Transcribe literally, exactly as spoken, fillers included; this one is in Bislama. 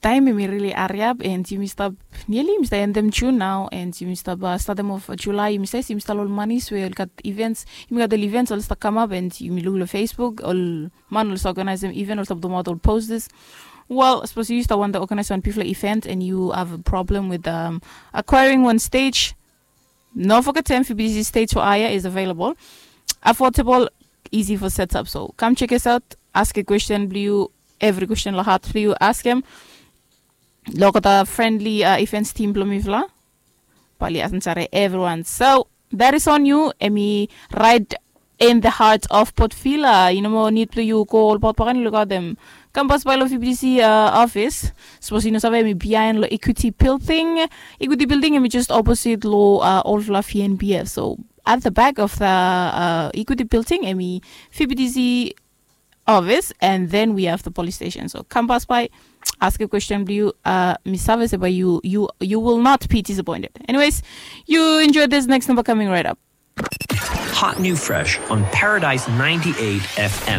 Taem hemi rili hariap and yumi stap, niali yumi stap endem Jun nao, and yumi stap statem of Julai. Yumi save se yumi stap long ol manis we ol gat events, yumi gat ol events ol stap kamap, and yumi luk long Facebook ol man ol stap organizem event, ol stap dumaot ol posters. Well, sapos yu stap wantem organize wan bigfala event and yu have a problem with um, acquiring one stage, no fogetem V B T C stage for hire is available, affordable, easy for setup. So kam check us out, ask a question blong yu, every question long hat blong yu, ask him. Lokota friendly uh, events team blong mifala, bali ansare everyone. So that is on you, emi right in the heart of Port Vila. You know, need blong yu go ol Port Pakani, look out them. Kam pas by lo V B T C uh, office. Suppose you know save emi behind lo Equity Building. Equity Building emi just opposite lo uh, old Fluffy N B F. So at the back of the uh, Equity Building, emi V B T C office, and then we have the police station. So come pass by, ask a question blong yu, uh, mi save se bae yu, yu, you will not be disappointed. Anyways, you enjoy this next number coming right up. Hot new fresh on Paradise ninety-eight F M.